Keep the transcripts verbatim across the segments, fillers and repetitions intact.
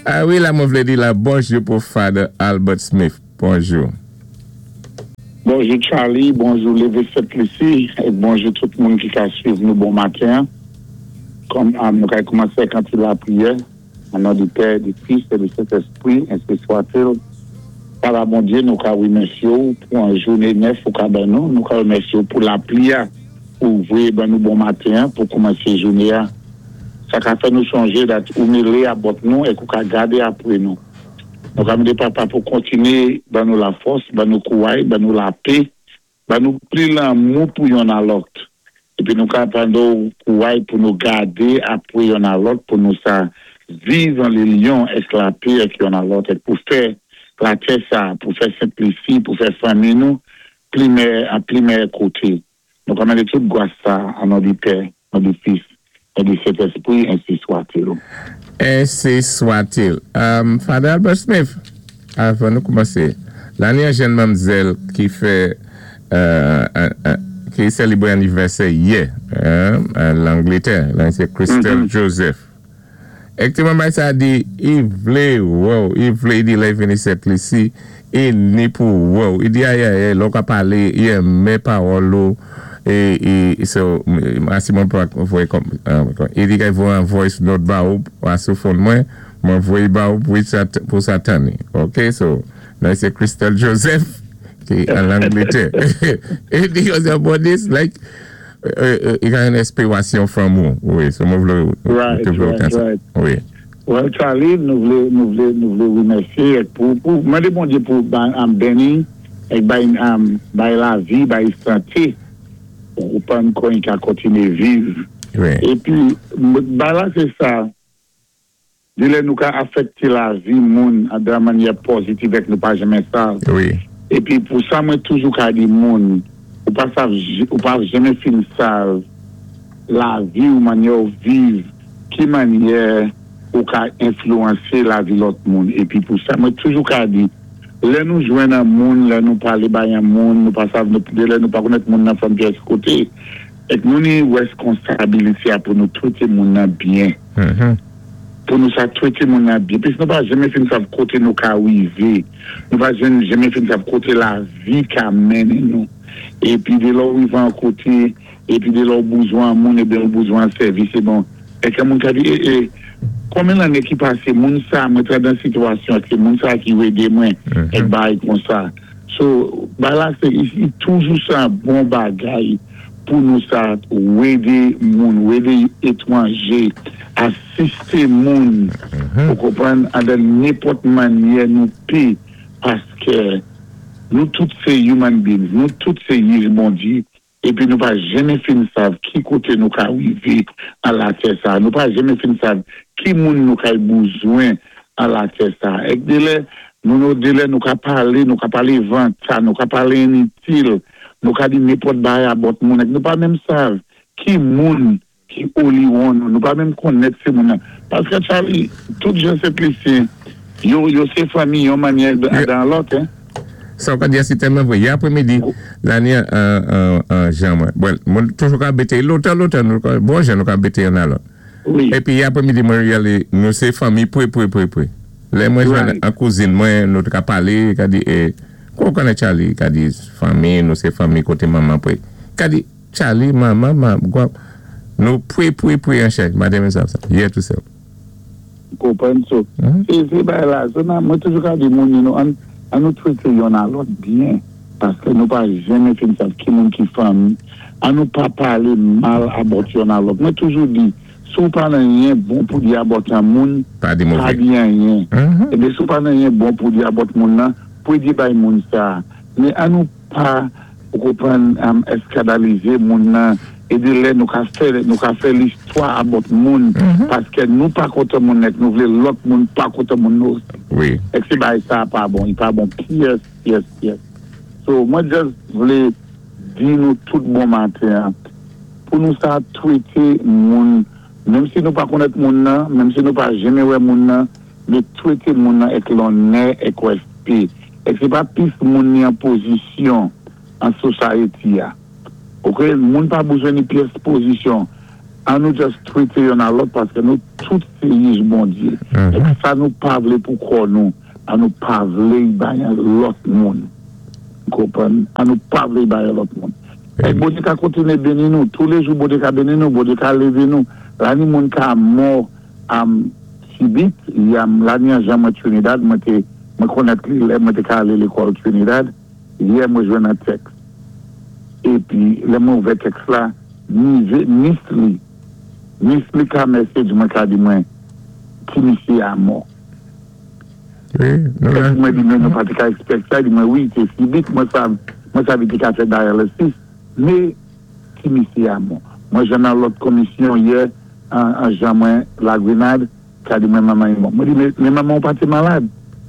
Ah wi, la mwen vlé di la bonjou pou Father Albert Smith. Bonjou. Bonjou Charlie, bonjou Lévé Sent-Lisi, é bonjou tout moun ki ka swiv nou bon maten. Kòm nou ka koumansé ak an ti lapriyè, an non di Pè, di Fis é di Sentèspwi, ensi swa-t-il. Papa Bondyé, nou ka wimèsyé ou pou an jouné nèf ou ka ban nou, nou ka wimèsyé ou pou lapli a, ou voyé ban nou bon maten pou koumansé jouné a. Sa ka fè nou sonjé dat ou mélé abòt nou é ou ka gadé apwé nou. Nou ka mandé papa pou kontiné ban nou lafòs, ban nou kouway, ban nou lapè, ban nou pli lanmou pou yonn a lòt. Épi nou ka mandé ou kouway pou nou gadé apwé yonn a lòt, pou nou sa viv an linyon èk lapè èk yonn a lòt, é pou fè latè sa, pou fè Sent-Lisi, pou fè fanmi nou, pli mèyè, an pli mèyè koté. Nou ka mandé tout gwas sa, an non di Pè, an di Fis, an di Sentèspwi, ensi swa-t-il. Ensi swa-t-il. Um, Father Albert Smith, avan nou koumansé, la ni an jèn manmzèl ki fè, euh, ki sélébwé anivèsè yè, an Langlétè, la sé Christelle Joseph. Èk ti manmay sa di, i vlé wè ou, i vlé di lè vini Sent-Lisi, i ni pou wè ou, i di ay ay ay, lò ka palé, i enmen pawòl ou, e, e, so, asi mwen pou voyé kòm, i di kay voyé an voice note ba ou, asou phone mwen, mwen voyé ba ou pou pou sa tanni. Ok, so, nan sé Christelle Joseph, ki an Langlétè. E di yo se bon this, like, i ka yon espirasyon from ou. Wi, so mwen vlé Right, right, right. Wi. Well, Charlie, nou vlé, nou vlé, nou vlé wimèsyé pou, pou, mandé Bondyé pou am béni, èk bay, am, bay lavi, bay santé, pou pan kon ka kontiné viv. Wi. Épi, ba la sé sa, di lè nou ka afèkté lavi moun an de mannyè pozitiv èk nou pa janmen sa. Wi. Épi pou sa mwen toujou ka di moun, ou pa sav, ou pa janmen fin sav lavi ou mannyè ou viv, ki mannyè ou ka enflouwansé lavi lòt moun. Épi pou sa mwen toujou ka di, lè nou jwenn an moun, lè nou palé bay an moun, nou pa sav, nou, lè nou pa konnèt moun nan fanm pyès koté, èk nou ni wèskonsabilité a pou nou twété moun nan byen. Mm-hmm. Pou nou sa twété moun nan byen. Pis nou pa janmen fin sav koté nou ka wivé. Nou pa janmen fin sav koté lavi ka mennen nou. Épi de lò ou wivé an koté, épi de lò ou bouzwen moun, épi ou bouzwen sèvis, é bon. Èk an moun ka di, é, é, konmen lanné ki pasé, moun sa, mwen té dan sitwasyon, sé moun sa ki édé mwen, èk bay kon sa. So, ba la sé, i toujou sa bon bagay pou nou sa wédé moun, wédé étwanjé, asisté moun, ou konpwann, an de nenpòt mannyè nou pé, paské nou tout sé human beings, nou tout sé jij Bondyé, épi nou pa janmen fin sav ki koté nou ka wivé an latè sa, nou pa janmen fin sav ki moun nou ka bouzwen an latè sa. Èk de lè, nou nou de lè nou ka palé, nou ka palé vanta, nou ka palé initil, nou ka di nenpòt bagay abòt moun, èk nou pa menm sav ki moun ki oliwon nou, nou pa menm konnèt sé moun nan. Paské Charlie, tout jan Sent-Lisyen, yo, yo sé fanmi yon mannyè dan lòt, hein. Sa ou ka di a si tèlman vwé. Yè apwémidi, la ni an, an, an jan mwen. Well, mwen toujou ka bété, lontan, lontan, nou ka, bon jan nou ka bété yon a lòt. Wi. Épi yè apwémidi mwen riyalé, nou sé fanmi pwé, pwé, pwé, pwé. Lè mwen jwenn Right. an kouzin mwen, nou te ka palé, ka di, eh, kou konnen Charlie? Ka di, fanmi, nou sé fanmi koté manman pwé. Ka di, Charlie, manman, manman, gwa, nou pwé, pwé, pwé an chèk. Maten men sa, sa. Yè tout sèl. Konpwann so. Mhm. Sé, sé bay la, so nan, mwen toujou ka di moun, you know, an, an nou twété yonn a lòt byen, paské nou pa janmen fin sav ki moun ki fanmi, an nou pa palé mal abòt yonn a lòt. Mwen toujou di, sou pa nan anyen bon pou di abòt an moun, Pa di pa mové. di anyen. Mhm. Ébé sou pa nan anyen bon pou di abòt moun nan, pou di bay moun sa. Men an nou pa, ou konpwann, um, eskandalizé moun nan, é de lè nou ka fè, nou ka fè listwa abòt moun, paské nou pa kontan moun èk nou vlé lòt moun pa kontan moun nou osi. Wi. Èk sé bay sa pa bon, i pa bon pyès, pyès, pyès. So, mwen just vlé di nou tout bon maten, pou nou sa twété moun, menm si nou pa konnèt moun nan, menm si nou pa janmen wè moun nan, mé twété moun nan èk lonnè, èk wèspé. Èk sé pa pis moun ni an pozisyon an society a. Ok, moun pa bouzwen ni pyès pozisyon. An nou just twété yonn a lòt paskè nou tout sé jij Bondyé. Èk sa nou pa vlé pou kò nou, an nou pa vlé bay an lòt moun. Konpwann? An nou pa vlé bay an lòt moun. Èk Bondyé ka kontiné béni nou, touléjou Bondyé ka béni nou, Bondyé ka lévé nou. La ni moun ka mò am sibit, yam la ni an jan mwen Trinidad, mwen té mwen konnèt li lè mwen té ka alé lékòl Trinidad, yè mwen jwenn an tèks. Épi lè mwen ouvè tèks la, nive, nis li, nis li ka message mwen ka di mwen ti misyé a mò. Wi, nou la. Mwen di mwen nou pa té ka expect sa, di mwen wi, sé sibit, mwen sav, mwen sav té ka fè dialysis, mé ti misyé a mò. Mwen jwenn nan lòt komisyon yè, an, an jan mwen La Grenade, ka di mwen manman yi mò. Mwen di, mé, mé manman ou pa té malad.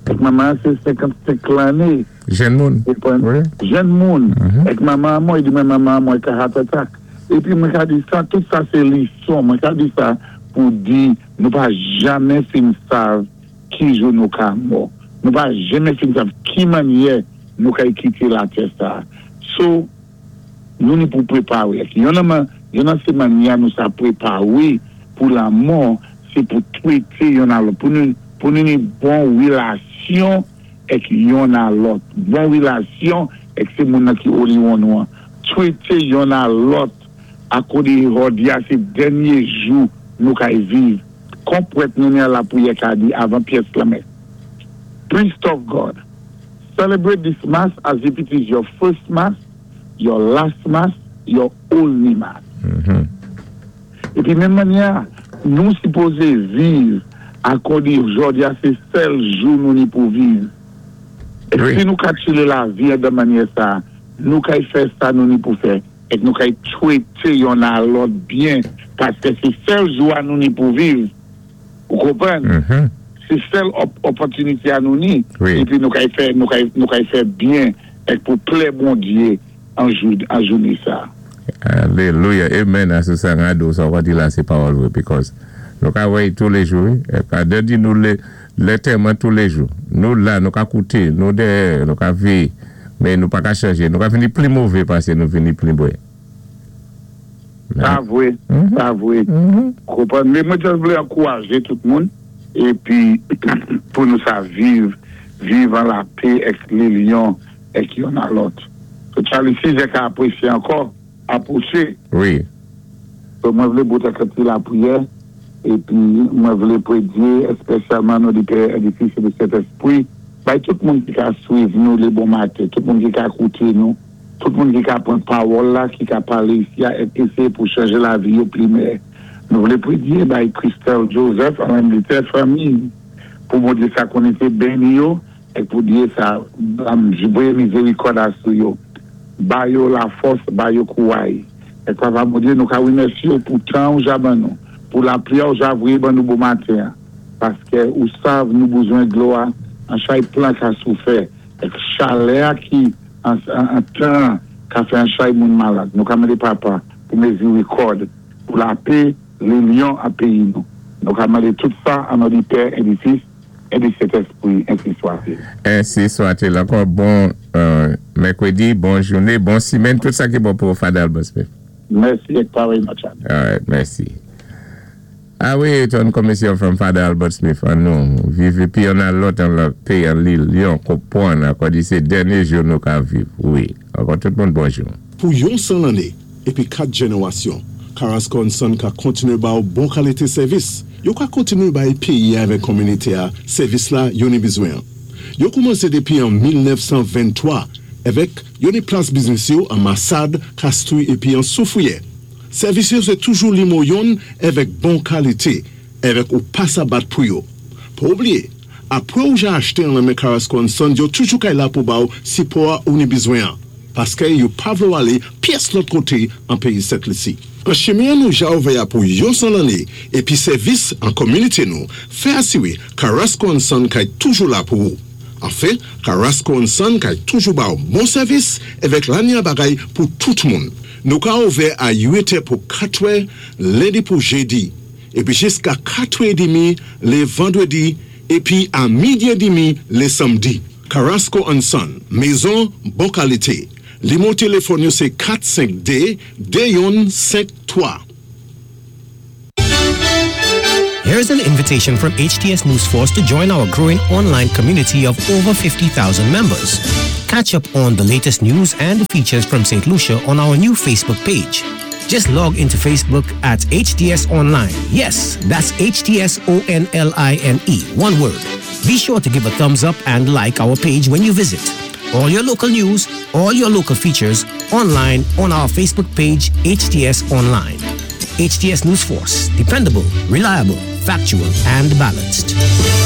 Èk manman sé senkannsenk lanné. Jèn moun. Wi. Jèn moun. Èk manman mwen, di mwen manman mwen ka heart attack. Épi mwen ka di sa, tout sa sé lison. Mwen ka di sa pou di nou pa janmen fin sav ki jou nou ka mò. Nou pa janmen fin sav ki mannyè nou ka kité latè sa. So, nou ni pou préparé. Yonn nan man- yonn nan sé mannyè nou sa préparé pou lamò, sé pou twété yonn a lòt, pou nou pou nou ni bon wilasyon èk yonn a lòt. Bon wilasyon èk sé moun nan ki oliwon nou an. Twété yonn a lòt akòdi jòdi a sé dènyé jou nou kay viv. Kon pwèt nou ni a lapriyè ka di avan pyès lamès. Priest of God, celebrate this mass as if it is your first mass, your last mass, your only mass. Épi menm mannyè, nou sipozé viv akòdi jòdi a sé sèl jou nou ni pou viv. É Wi. Si nou ka tchilé lavi de mannyè sa, nou kay fè sa nou ni pou fè, èk nou kay twété yonn a lòt byen, paskè sé sèl jou a nou ni pou viv. Ou konpwann? Mhm. Sé sèl op opòtinité a nou ni. Wi. Épi nou kay fè, nou kay, nou kay fè byen, èk pou plè Bondyé an jou, an jouné sa. Alelouya. Amen. A sa Rado, sa wap di la sé pawòl wè, because nou ka wè touléjou, ka de di nou lé, lantèman touléjou. Nou la, nou ka kouté, nou dèyè, nou ka véyé, mé nou pa ka chanjé. Nou ka vini pli mové pasé nou vini pli bwè. Sa vwé, sa vwé. Konpwann? Mé mwen just vlé ankourajé tout moun épi pou nou sa viv, viv an lapè èk linyon èk yonn a lòt. So Charlie, si jè ka apresyé ankò, apwoché. Wi. So mwen vlé bout ak ti lapriyè épi mwen vlé prédyé espesyalman nou di Pè, di Fis é di Sentespwi, bay tout moun ki ka swiv nou lé bon maten, tout moun ki ka kouté nou, tout moun ki ka pran pawòl la, ki ka palé isi a èk éséyé pou chanjé lavi yo pli meyè. Nou vlé prédyé bay Christelle Joseph an Angletè fanmi pou Bondyé sa konniné béni yo èk pou Dyé sa am voyé mizérikòd a sou yo. Ba yo lafòs, ba yo kouway. Èk Papa Bondyé nou ka wimèsi yo pou tan ou ja ban nou, pou lapriyè ou ja voyé ban nou bon maten. Paskè ou sav nou bezwen dlo a, an chay plan ka soufè, èk chalè a ki an, an, an tan ka fè an chay moun malad. Nou ka mandé Papa pou mizérikòd, pou lapè, linyon a péyi nou. Nou ka mandé tout sa an non di Pè, é di Fis, é di Sentespwi, ensi swa-t-il. Ensi swa-t-il. Ankò bon euh, mèkwédi, bon jouné, bon simenn, tout sa ki bon pou Father Albert Smith. Mèsi èk parèyman Charlie. All right, mèsi. A wi, ton komisyon from Father Albert Smith, an nou, viv épi yonn a lòt an lapè, an linyon, konpwann, akòdi sé dènyé jou nou ka viv. Wi, ankò tout moun bonjou. Pou yon san lanné, épi kat jénéwasyon, Carrasco and Son ka kontiné ba ou bon kalité sèvis. Yo ka kontiné bay péyi avèk kominité a sèvis la yo ni bizwen. Yo koumansé dépi an mil nèf san venntwa avèk yo ni plas biznis yo an Massade, Castries épi an Soufrière. Sèvis yo sé toujou nimewo youn avèk bon kalité, avèk ou pa sa bat pou yo. Pa oubliyé, apwé ou ja achté an nan men Carrasco and Son, yo toujou kay la pou ba ou sipò a ou ni bizwen an. Paskè yo pa vlé ou alé pyès lòt koté an péyi Sent Lisi. An chimen nou ja ouvè pou yon san lanné épi sèvis an kominité nou, fè asiwé Carrasco and Son kay toujou la pou ou. Anfen, Carrasco and Son kay toujou ba ou bon sèvis avèk lanya bagay pou tout moun. Nou ka ouvè a uit è pou katwè lendi pou jédi, épi jiska katwè édmi lé vandwédi, épi a midi édmi lé samdi. Carrasco and Son, mézon bon kalité. Nimewo téléfòn yo sé kat senk dé, dé youn senk twa. Here's an invitation from H T S News Force to join our growing online community of over fifty thousand members. Catch up on the latest news and features from Saint Lucia on our new Facebook page. Just log into Facebook at H T S Online. Yes, that's H T S O N L I N E, one word. Be sure to give a thumbs up and like our page when you visit. All your local news, all your local features, online on our Facebook page, H T S Online. H T S News Force, dependable, reliable, factual, and balanced.